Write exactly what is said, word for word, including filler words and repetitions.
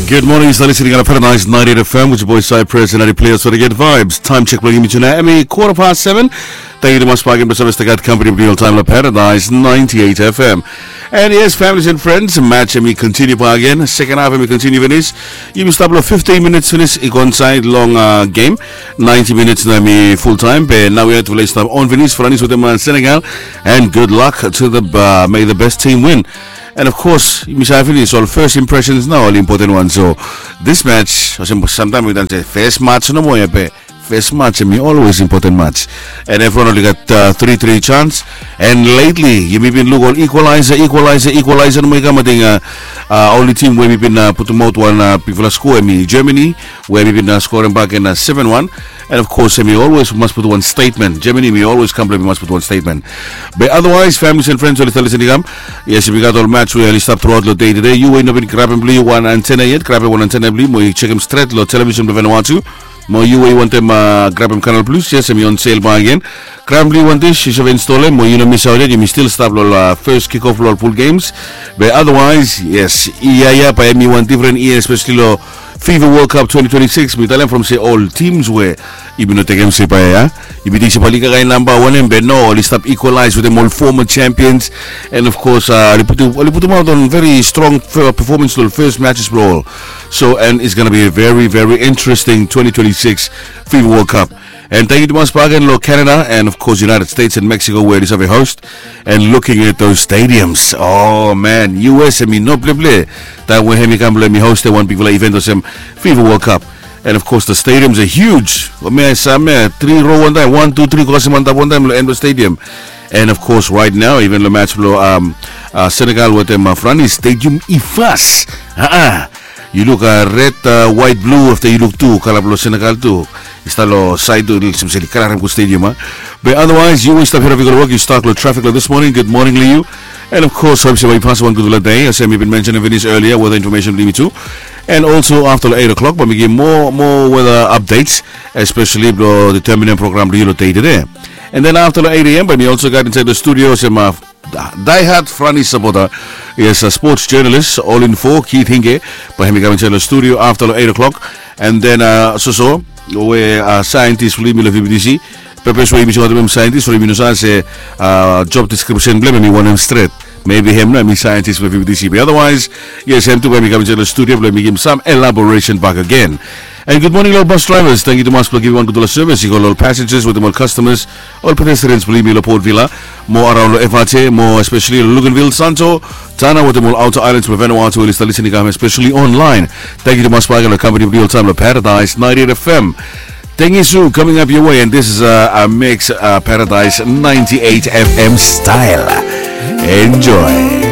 Good morning, yu stap listening on Paradise ninety-eight F M with your boy Cypress and Eddie Players for the good vibes. Time check blong yumi tonight, hemi quarter past seven. Thank you tumas bak agen blong save stap gat company blong yu oltaem long Paradise ninety-eight F M. And yes, families and friends, match hemi continue bak agen. Second half hemi continue finis. Yumi stap long fifteen minutes finis i go insaed long uh, game. Ninety minutes nao hemi full time. Be nao we have to stap on finis, Franis wetem uh, Senegal. And good luck to the uh, may the best team win. And of course, yumi save finis ol first impressions nao oli important wan. So this match, olsem samtaem wi tan se first match nomo ia be first match hemi always important match. And everyone oli gat uh, three three chance. And lately yumi bin luk ol equalizer, equalizer, equalizer nomo i kam. Ating uh, uh, only team we hemi bin uh, putumaot wan uh, bigfala score hemi Germany, we hemi bin uh, skorem bak in uh, seven one. And of course hemi always mas putum wan statement. Germany hemi always kam blong hemi mas putum wan statement. Be otherwise, families and friends oli stap listening i kam. Yes, yumi gat ol match we oli stap throughout long dei tede. Yu we yu no bin grabem blong yu wan antenna yet, grabem wan antenna blong yu mo yu jekem stret long television blong Vanuatu. Mo yu we yu wantem uh, grabem Canal Plus, yes, hemi on sale bak agen. Grabem blong yu wan dish, yu save install hem mo yu no misaot yet, yumi stil stap long uh, first kick off long ol full games. Be otherwise, yes, ia ia bae hemi wan different year, especially long FIFA World Cup twenty twenty-six. Mi talem from se ol teams we yumi no tekem se bae ia, yumi ting se bae oli kakae namba wanem, be no, oli stap equalize wetem ol former champions. And of course uh, oli putum, oli putumaot wan very strong uh, performance long first matches blong ol. So and it's gonna be a very very interesting twenty twenty-six FIFA World Cup. And thank you tumas bak agen long Canada and of course United States and Mexico we oli save host. And looking at those stadiums, oh man, U S hemi no pleple taem we hemi kam blong hemi hostem wan bigfala event olsem FIFA World Cup. And of course the stadiums are huge. Hemia, samia three row wantaem, one, two, three, go kasem antap wantaem long end blong stadium. And of course right now even long match blong um, uh, Senegal wetem uh, Franis, stadium i vas. Aa, yu luk uh, red, uh, white, blue, afta yu luk tu kala blong Senegal tu i stap long saed tu, olsem se oli kala harem gud stadium a. Be otherwise yu we yu stap hia long wok, yu stak long traffic long this morning, good morning long yu. And of course hope se bae yu pasem wan gudfala dei. Olsem mi bin mentionem finis earlier, weather information blong yumi tu. And also afta long eight o'clock bae mi givim moa moa weather updates, especially blong determinem program blong yu long dei tede. And then afta long eight a.m. bae mi also gat insaed long studio olsem uh, die hard Franis supporter. Yes, a sports journalist, All Info, Keith Hinge, bae hemi kam insaed long studio afta long eight o'clock. And then uh, soso we uh, scientist blong yumi long V B T C. Purpose we yumi singaotem hem scientist from yumi no save se uh, job description blong hem hemi wanem stret. Maybe hem nao hemi scientist blong V B T C. Be otherwise, yes, hem tu bae hemi kam insaed long studio blong hemi givim sam elaboration bak agen. And good morning long ol bus drivers. Thank you tumas blong givim wan gudfala service i go long ol passengers wetem ol customers, ol pedestrians blong yumi long Port Vila, mo araon long F R T, mo especially long Luganville, Santo, Tanna wetem ol outer islands blong Vanuatu we oli stap listening i kam especially online. Thank you tumas bak agen long company blong yu oltaem long Paradise ninety-eight F M. Thank you, Sue, coming up your way, and this is a, a mix uh, Paradise ninety-eight F M style. Enjoy.